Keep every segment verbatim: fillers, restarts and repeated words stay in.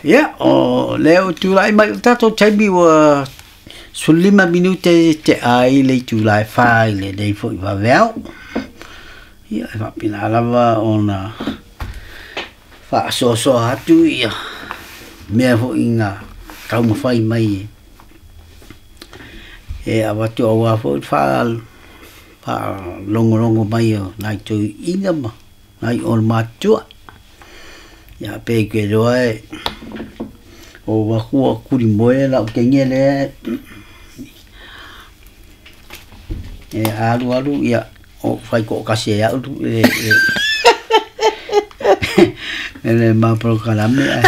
Ia, o lea ua tulai mai o le tatou taimi ua sefululima minute te ai le itula e fa i lenei foi vaveao. Ia, e faapena lava ona faasoasoa atu ia mea foi na taumafai mai e avatu aua foi le faalogologo mai o nai toeaiina ma nai olomatutua. Ia pe ke iloa e o aku ua kulimoe lau teine lea e alu alu ia o fai toatasi e au le le le ma polokalame ae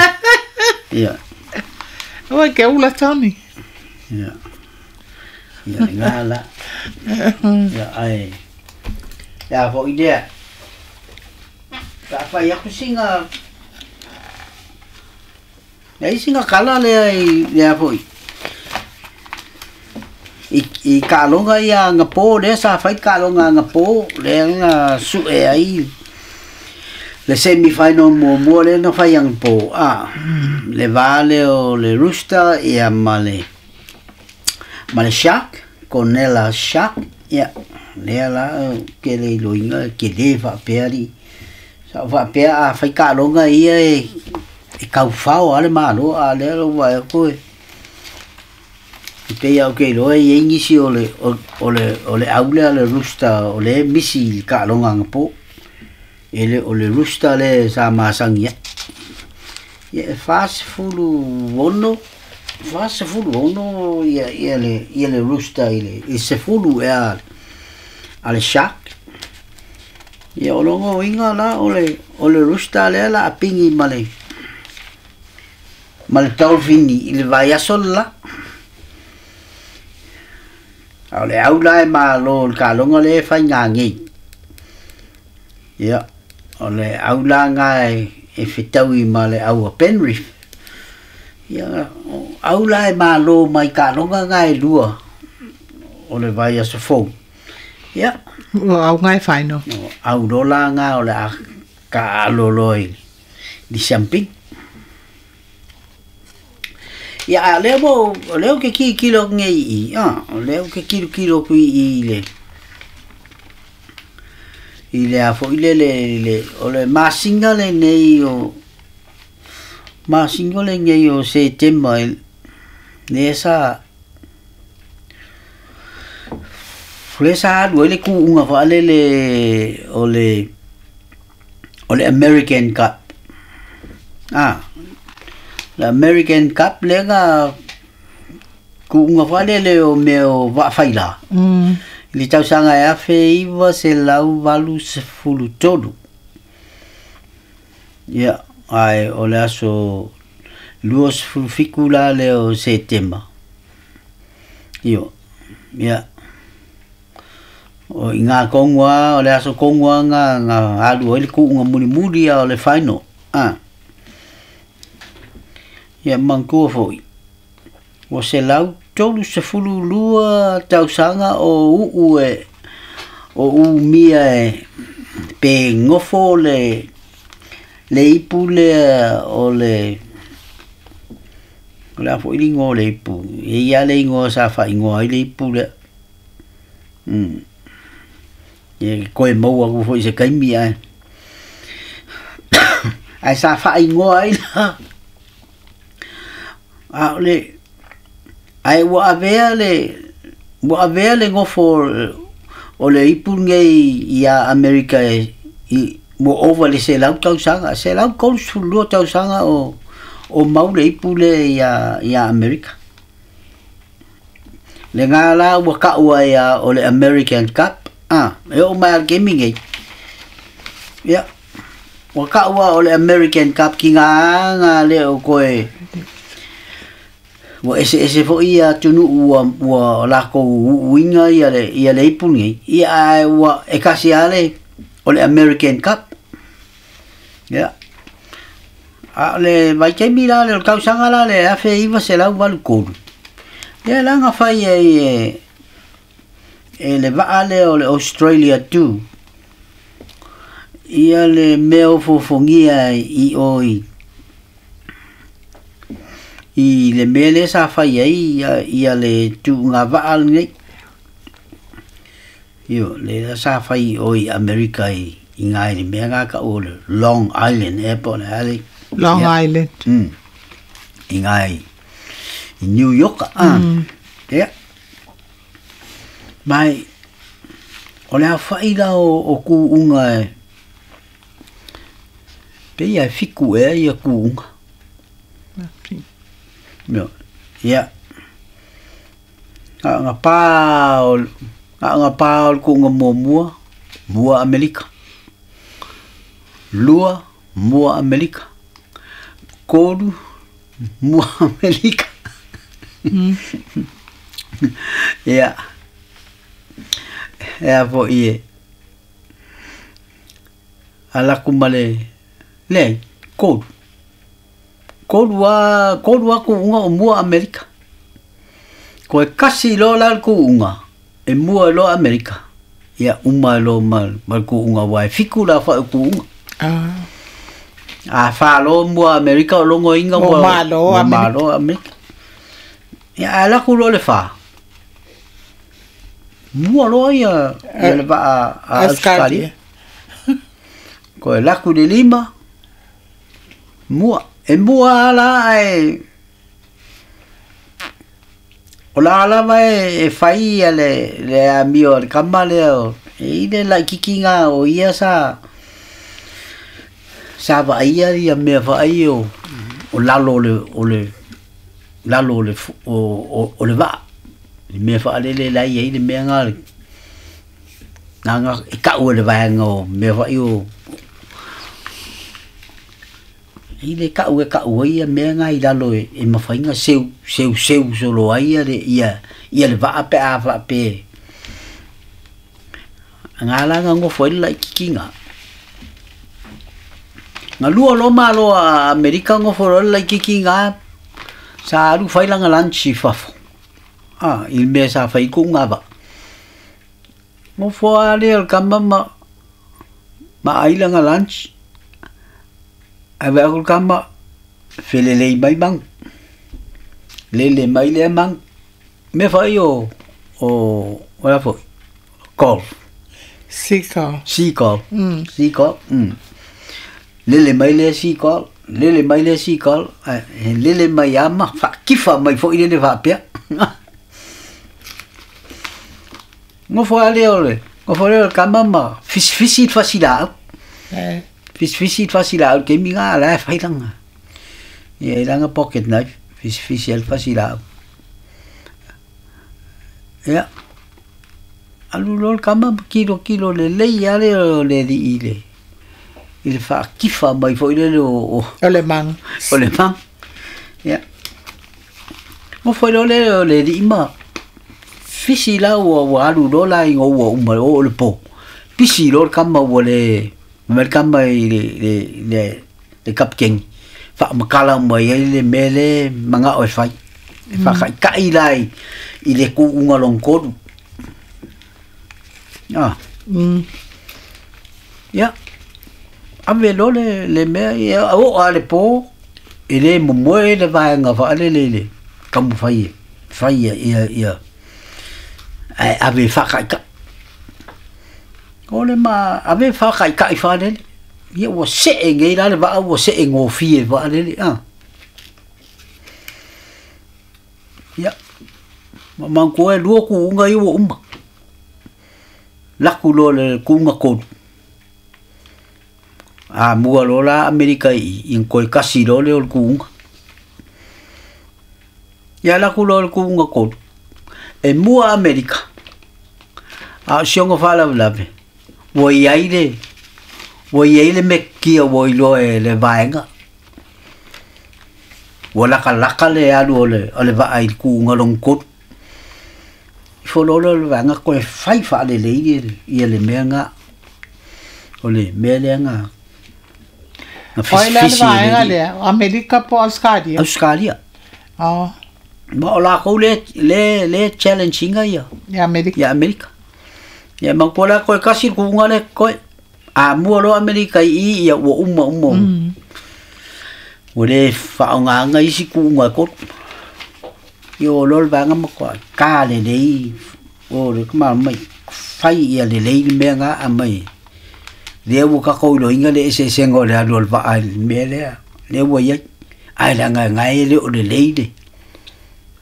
ia. Oi ke ula Tony. Ia. Ia ngā la. Ia ai. Ia foi lea. Ka fai aku singa Nei singa kala lea i lea foi. I i kaaloga ia agapo lea sa fai kaaloga agapo lea na sue ai le semi final muamua lea na fai agapo a le va lea o le Rooster ia ma le ma le Shark Cornella Shark ia lea la ke le iloiga ke lē faapea alii sa ou faapea a fai kaaloga ia e e kaufao a le malo a lea lou vaai atu e e pei lava ou te iloa e i ai nisi o le o le o le au lea le Rooster o lea e misi i le kaaloga agapo e le o le Rooster lea sa masani ai. Ia e fasefulu ono fasefulu ono ia ia le ia le Rooster i le i sefulu ea a le Shark. Ia o lona uiga la o le o le Rooster lea o le a pigi ma le ma le Dolphin i le vaiaso le la. A o le au la e malo i le kaaloga lea e faiga nei. Ia o le au la lena e e fetaui ma le au a Penrith. Ia o au la e malo mai kaaloga na e lua o le vaiaso fou. Ia. O au nga e final. O au loa la lena o le a taaalo loa i le siamupini. Ia a o lea ua o lea ou te tilotilo atu nei i i, a o lea ou te tilotilo atu i i le i le a foi lele le o le masina lenei o masina lenei o Setema lea sa lea sa alu ai le kuuga faalele o le o le American Cup. A le American Cup lea na kuuga faalele o mea o vaafaila Mm. i le tausaga e afe iva selau valu sefulu tolu. Ia ae o le aso lua sefulu fitu la lea o Setema. Io ia o i ngā tonu lava o le aso tonu lava na na alu ai le kuuga mulimuli a o le final. A ia manatua foi ua selau tolu sefulu lua tausaga o uu e o umia e pe nofo le le ipu lea o le o le a foi le igoa o le ipu e i ai lava le igoa sa faaigoa ai le ipu lea. Mm. Ia toe maua atu foi i se taimi ae ae sa faaigoa ai la a o le ae ua avea le ua avea le nofo o le ipu lenei ia Amerika e i ua ova i le selau tausaga selau tolu sefulu lua tausaga o o mau le ipu lea ia ia Amerika. Lena la ua taua ai a o le American Cup a e oo mai lava i le taimi lenei. Ia ua taua o le American Cup tiga na le o toe ua eseese foi ia atunuu ua ua latou uuina ia le ia le ipu lenei ia ae ua e tasi lava le o le American Cup. Ia a o le vaitaimi la lea o le tausaga la lea afe iva selau valu tolu lea la na fai ai e e le vaa lea o le Australia two ia le mea ofoofogia i o i I le mea lea sa fai ai ia, ia le tuuga vaa lenei. Io, le sa fai o i Amerika i, i ngai le mea ngā ka o le Long Island Airport le ale. Long Ia. Island. Mm. I ngai i New York. Ah. Mm. Ia. Mai o le afa'i la o, o ku'uga e pe ia e fiku ea ia ku'uga. Io. Ia. Nga nga pa o nga nga pa o le ku'uga muamua, mua Amerika. Lua, mua Amerika. Kolu, mua Amerika. Mm. Ia. Ea fo'i e alaku ma le leai kolu. Kolu a kolu a ku'uga o mua Amerika. Koe kasi loa la le ku'uga e mua ai loa Amerika. Ia uma ai loa ma ma le ku'uga uae fiku la afa'i o ku'uga. Ah. A fa'aloa mua Amerika o logoina Ua ua malo ua Amerika. malo Amerika. Ia ae laku loa le fā. Mua loa ia ia le vaa a Australia. Australia. Koe laku le lima mua e mua ala ae o la lava e, e fai ia le le amio le kama lea o e i le laʻikikiga o ia sa sa vaaia ia mea faai o o lalo o le o le lalo o le fu- o o, o le vaa le mea faalele lai ai le mea ga nga e ka'u e le vaega o mea fa'i o i le ka'u e ka'u ai ia mea ga i lalo e, e mafaiga seu seu seu solo ai ia le ia ia le vaa pe a faape ga la ga gofo ai le laʻikikiga ga lua lo malo a Amerika gofo loa le laʻikikiga sa alu fai laga lunch i fafo a i le mea sa fai kuʻuga vaa gofo a lea o le kama ma ma ai laga lunch ae vaai atu le kama felelei mai magu lele mai lea magu mea fa'i o o o la fo'i golf. Seagull. Seagull. Mm. Seagull mm. Lele mai lea seagull lele mai lea seagull ae lele mai ama fa'akifa mai fo'i lele fa'apea gofo a lea o le gofo lea o le kama ma fisifisi le fasilaau. Eh. Fisifisi le fasilaau le taimi ga la e fai laga ia i laga pocket knife fisifisi ai le fasilaau. Ia alu loa le kama ma kilokilo lelei a lea o le ali'i i le i le fa'akifa mai fo'i lele o o O le maga. O le maga. Ia gofo ai loa lea o le ali'i ma fisi la ua ua alu loa la iga ua uma oo le po pisi loa le kama ua le mai le kama i le le le le kapikeni fa'amakala mai ai le mea le maga'o e fai e fa'aka'ika'i la i i le ku'uga lona tolu ah. Mm. Ia ave loa le le mea ia oo a le po e lē momoe le vaega fa'alele i le taumafai e fai ia ia ia ae ave fa'aka'ika'i o le ma ave fa'aka'ika'i fa'alele ia ua se'e nei la le vaa ua se'e gofie fa'alele a ia ma manatua e lua ku'uga ia ua uma laku loa le ku'uga tolu amua loa la Amerika i i toe kasi loa lea o le ku'uga ia laku loa le ku'uga tolu e mua Amerika a o si ona fa'alavelave ua iai le ua iai le mekia ua iloa e le vaega ua lakalaka le alu o le o le vaa i le ku'uga lona tolu ifo loa lea o le vaega toe fai fa'alelei ia ia le mea ga o le mea lea ga na O ai la le fisifisi e vaega le lea, Amerika po Australia. Australia. Oh, Ma o lakou le le le challenge ina ia i Amerika. ia Amerika ia manatua la koe kasi le ku'uga le koe amua loa Amerika i i ia ua uma uma. Mm. Ua lē faaaogāga isi kuuga e tolu. Ia o loa le vaega ma toa ka lelei o le mai fai ia lelei le mea ga aumai lea ua tatou iloiga le eseesega o le alu o le vaa i le mea lea lea ua iai ae leaga e gae e le o lelei le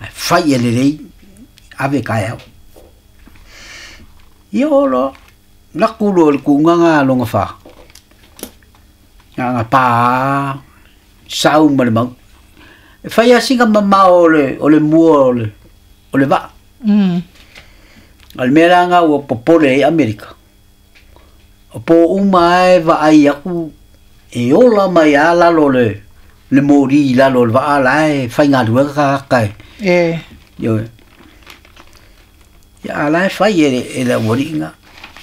ae fai ia lelei ave taeao. Ia o loa laku loa i le kuuga ga loga fa aga pā sau ma le mau e fai asiga mamao o le o le mua o le o le vaa. Mm. A le mea la ga ua popole ai Amerika. O po uma e vaai aku e ola mai a lalo le le mori i lalo o le vaa la e faigaluega tagata e. E. Ioe. Ia a la e fai e le e le aualiiga.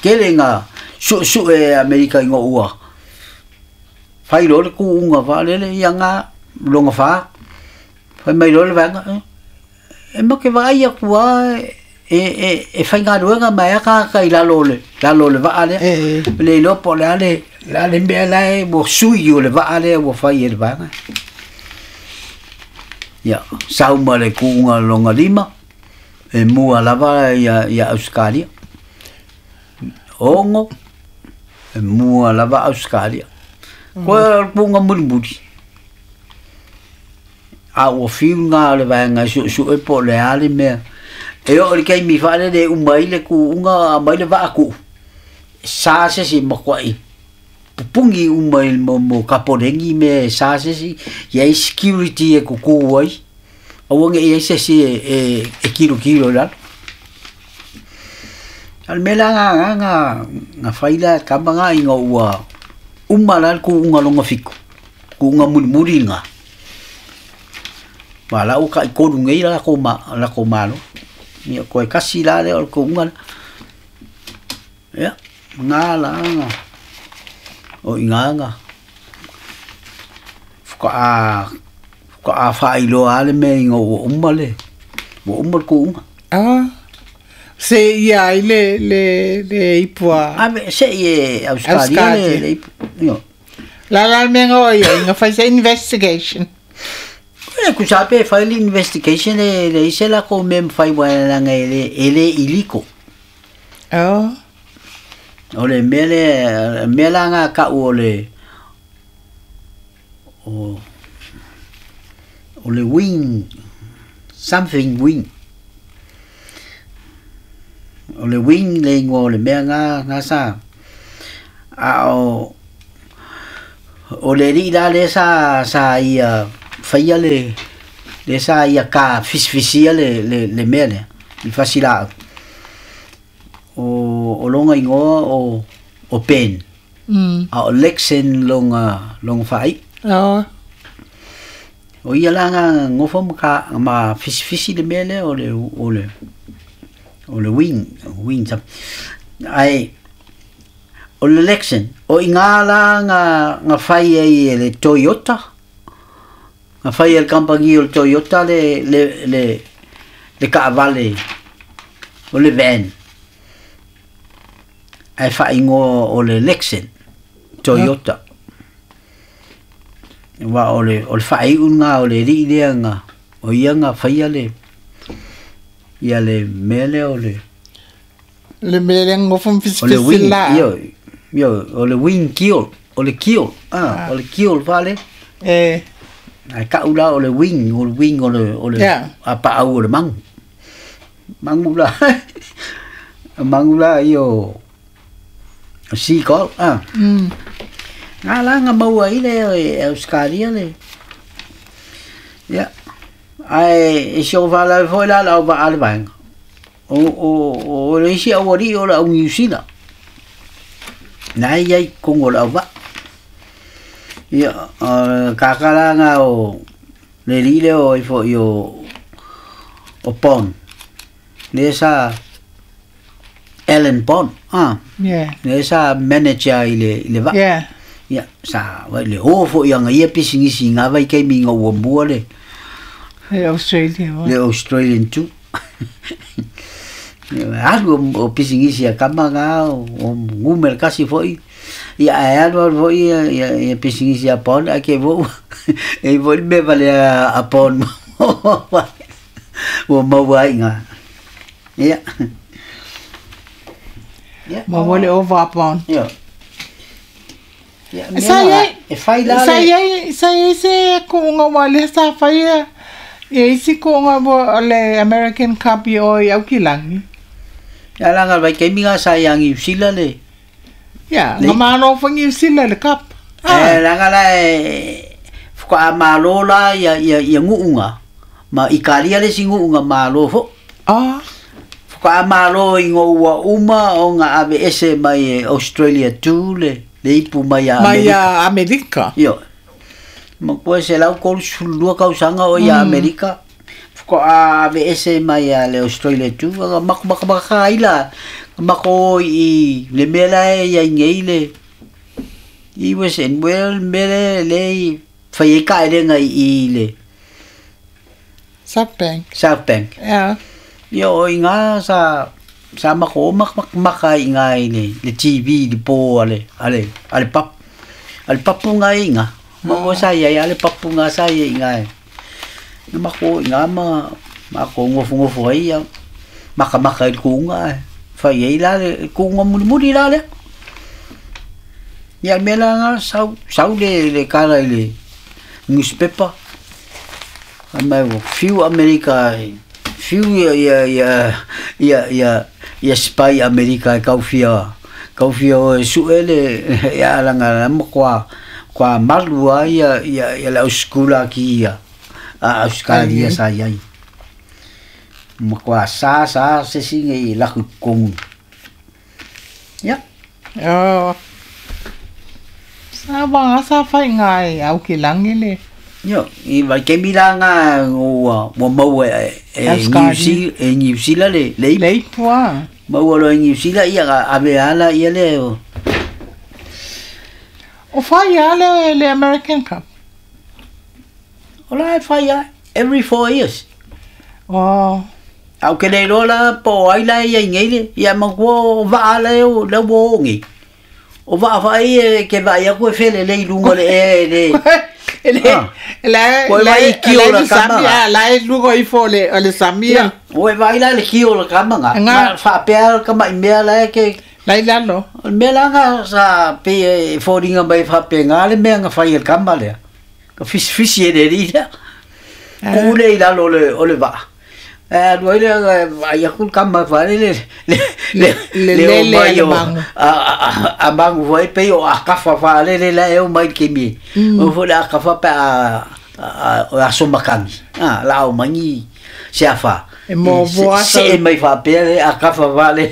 Tele ga suesue e Amerika ina ua fai loa le kuuga faalele ia ga loga fa. Fai mai loa le vaega e ma ke vaai atu lava e e e faigaluega mai a tagata i lalo o le lalo o le vaa lea. E. Le iloa po o le a le le a le mea la e ua sui o le vaa lea ua fai e le vaega. Ia sau ma le kuuga loga lima e mua lava ia ia Ausetalia. Ono e mua lava Ausetalia. Koe o le kuuga mulimuli. A ua fiu ga o le vaega e suesue po o le a le mea. E oo i le taimi faalele e uma ai le kuuga aumai le vaa kuu. Sa se isi matuai pupuni uma i mo mo kapolegi mea e sa se isi iai security e kukū ai. Aua nei i ai se isi e e e kilokilo i lalo. A o le mea la lagā na na fai la e tama ga ina ua uma la le kuuga loga fitu, kuuga mulimuli lena. Ma la ua taitolu nei la latou ma latou malo. Ia toe tasi la lea o le kuuga lea. Ia na la na o iga na faatoa faatoa faailoa lava le mea ina ua uma le ua uma le kuuga. Ah. Se ia ai le le le ipu a Ave sei e Ausetalia le le ipu. Ioe. La la le mea na o ai na fai se investigation. E tusa pe fai le investigation e leai se latou mea e mafai aua leaga e le e le illegal. Oh. O le mea lea mea la na tau o le o o le wing something wing. O le wing le igoa o le mea na na sa a o o le alii la lea sa sa ia faia le lea sa ia ka fisifisia le le le mea lea i fasilaau. O o lona igoa o o Ben. Mm. A o Lexen lona lona faaiu. Oh. O ia la na nofo ma ka ma fisifisi le mea lea o le o le o le wing wing ae o le Lexen o iga la na na fai ai e le Toyota na fai e le kamupani o le Toyota le le le le taavale o le van ae faaigoa o le Lexen Toyota. Aua o le o le faaiu lena o le alii lea na o ia na faia le ia le mea lea o le Le mea lea nofo ma o le fisifisi wing la. Ioe ioe o le wing kiol o le kiol ah o le kiol fale. E. Ae tau la o le wing o le wing o le o le Yeah. apaau o le magu. Magu la magu la ia o seagull ah. Mm. Na la na maua ai le e Ausetalia le. Ia ae e si ou faalavelave foi la le au vaa a le vaega. O o o le isi aualii o le au Niusila. Na e iai i totonu o le auvaa. Ia tagata la na o le alii lea o ai foi o o Bond. Lea sa Alan Bond ah. Yeah. Lea sa manager i le i le vaa. Yeah. Ia sa vai le o foi aga ia pisinisi i ngā vaitaimi ina ua mua le Le Australia. Le Australian two. Alu o pisinisi a kama ga o numera kasi foi. Ia ae alu alu foi ia ia ia pisinisi a Pon a ke vo e vo me vale a Pon ua maua ai ngā. Ia. Ia. Ma ua le ova a Pon. Ia. Ia, Sa iai e fai la sa iai sa iai se kuuga ua lea sa faia ia isi kuuga ua le American Cup i o i Aukilagi. Ia laga le vaitaimi ga sa ia Niu Sila le Ia, le nga malo foi Niu Sila le cup. E laga la e faatoa malo la ia ia ia guuga ma Ikalia le isi guuga malo fo. Ah. Faatoa malo i ua uma o nga ave ese mai Australia tu le le ipu mai a Mai Amerika. a Amerika. Io. Ma koe se lau kolu sefululua kausaga o ia Amerika. Faatoa ave ese mai a le Australia tu aga mako maka maka ai la mako i le mea la e iai nei le i was and well mea le le i fai ai kaelega i i le South Bank. South Bank. Ia. Ia o i ngā sa sa mako o maka maka maka i ngā i le le T V le po a le a le a le pap a le papu ngā i ngā. Ma mo sa ia ia le papu ngā sa ia i ngā. Na mako i ngā ma ma ko ngofu ngofu ai ia maka maka i le kuunga e. Fai ai la le kuunga muli muli la le. Ia le mea la ngā sau sau le le kala i le newspaper. A mai ua fiu Amerika fiu ia ia ia ia ia ia spy Amerika e kaufia kaufia o e sue le ia alaga ma kwa kwa malu ai ia ia ia le auskula ki ia a Australia sa iai. Ma kwa sa sa se singe i laku kongu. Ia. Oh. Sa wanga sa fai ngai au ki langi le. Io, i vai ke mila ngā ua ua maua e e New Zealand e New Zealand le le Le ipu a. Maua lo e New Zealand ia ga ave ala ia le o. O fai a le le American Cup. O la e fai a every four years. Oh. Au ke le lola po ai la ia i nei le ia ma ko va le o le wo ngi. O va fa ai e ke va ia ko e fele le i lunga le e le. Le la Koe la vai i kio la la kama Samia la e lugo i fo le o le Samia. Oe vai la le kio la kama nga. Nga. Ma fa pea ka mai mea la e ke La i lalo. O le mea la nga sa pe e fōringa mai fa pe ngā le mea nga fai e le kama lea. Ka fisi fisi e le ri lea. Ku le i lalo o le o le vaa. E alu ai le vai aku le kama fa le le le Le le le o le mai le o mangu. a a a mangu foi pe o a kafa fa le le la e o mai ke mi. O fo le a kafa pe a a a aso makangi. A la o mangi se a fa. E mo Se voa se e mai fa pe le a kafa fa le.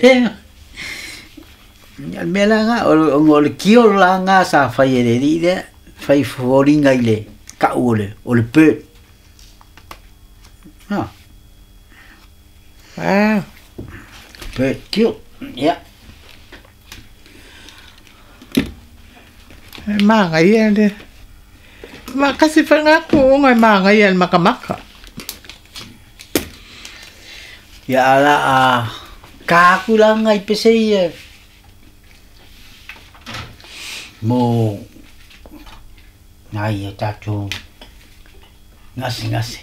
Ia le mea la nga o o le kio la nga sa fai e le ri le fai fōringa i le kau o le o le bird. Ha. Ah. Bird kio. Ia. E manga ia le. Ma kasi fai ngā kuunga e manga ia le makamaka. Ia ala a ka aku la ngai pese ia. Mo ngai e tātou ngase ngase.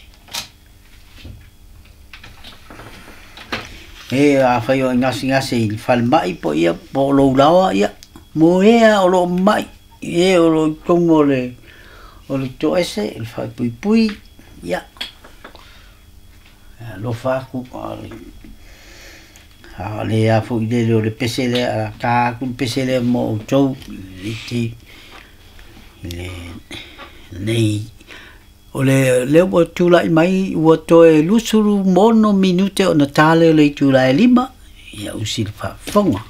E a whai o ngase ngase i whalmai po ia po lou lawa ia. Mo ea o lo mai e o lo tongo le o le toese i whai pui pui ia. Lo whaku a le a le a fo i le o le pese le a ka aku le pese le mo o tau i te le nei o le le ua tula'i mai ua toe lusulu mono minute ona tale o le itulā e lima ia usi le faafofoga.